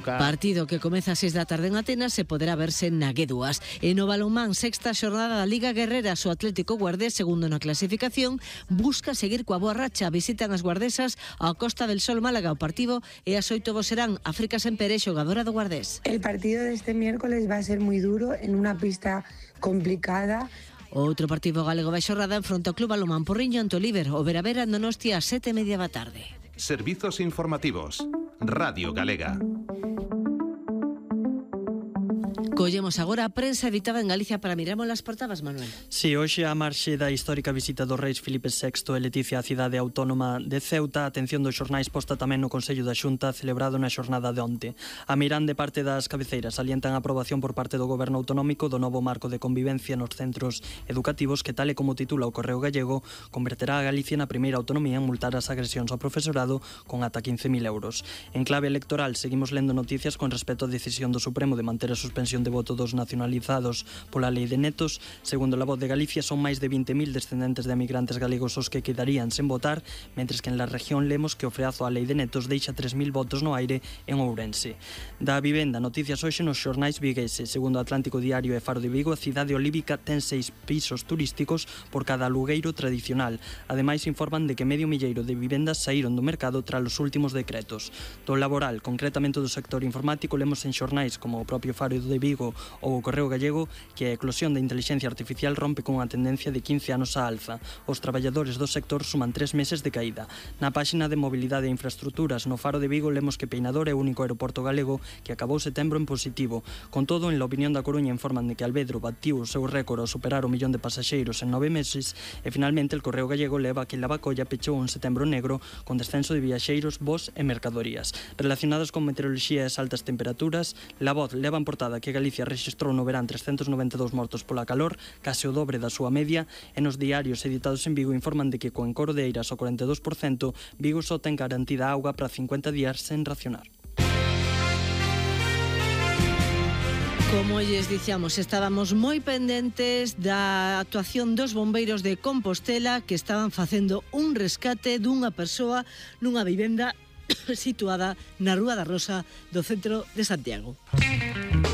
Partido que comeza a 6 da tarde en Atenas e poderá verse na G2. E no balonmán, sexta xornada da Liga Guerrera, o Atlético Guardés, segundo na clasificación, busca seguir coa boa racha. Visitan as guardesas a Costa del Sol Málaga. O partido e as 8 serán África Sempere, xogadora do Guardés. El partido de este miércoles va a ser muy duro en una pista complicada. Outro partido galego vai xornada enfronta o Club Balonmán Porriño ante o Líber. O Vera no Donostia a 7:30 da tarde. Servizos informativos. Radio Galega. Collemos agora a prensa editada en Galicia para mirarmos as portadas, Manuel. Si, hoxe a marxe da histórica visita dos reis Filipe VI e Leticia á cidade autónoma de Ceuta, a atención dos xornais posta tamén no Consello da Xunta celebrado na xornada de onte. A mirán de parte das cabeceiras salientan a aprobación por parte do Goberno autonómico do novo marco de convivencia nos centros educativos que, tal e como titula o Correo Gallego, converterá a Galicia na primeira autonomía en multar as agresións ao profesorado con ata 15.000 euros. En clave electoral, seguimos lendo noticias con respecto á decisión do Supremo de manter a suspensión de voto dos nacionalizados pola lei de netos. Segundo La Voz de Galicia, son máis de 20.000 descendentes de emigrantes galegos os que quedarían sen votar, mentres que en la región lemos que o freazo á lei de netos deixa 3.000 votos no aire en Ourense. Da vivenda, noticias hoxe nos xornais vigueses. Segundo Atlántico Diario e Faro de Vigo, a cidade olívica ten 6 pisos turísticos por cada alugueiro tradicional. Ademais, informan de que medio milleiro de vivendas saíron do mercado tras os últimos decretos. Do laboral, concretamente do sector informático, lemos en xornais como o propio Faro de Vigo ou o Correo Gallego que a eclosión da inteligencia artificial rompe con unha tendencia de 15 anos á alza. Os traballadores do sector suman 3 meses de caída. Na páxina de mobilidade e infraestructuras no Faro de Vigo lemos que Peinador é o único aeroporto galego que acabou setembro en positivo. Con todo, en La Opinión da Coruña informan de que Alvedro batiu o seu récord ao superar o 1 millón de pasaxeiros en 9 meses e finalmente el Correo Gallego leva que Lavacolla pechou un setembro negro con descenso de viaxeiros, voos e mercadorías. Relacionados con meteoroloxía e as altas temperaturas, La Voz leva en portada que Galicia rexistrou no verán 392 mortos pola calor, case o dobre da súa media, e nos diarios editados en Vigo informan de que co encoro de Eiras ao 42%, Vigo só ten garantida auga para 50 días sen racionar. Como lles dicíamos, estábamos moi pendentes da actuación dos bombeiros de Compostela que estaban facendo un rescate dunha persoa nunha vivenda situada na Rúa da Rosa do centro de Santiago.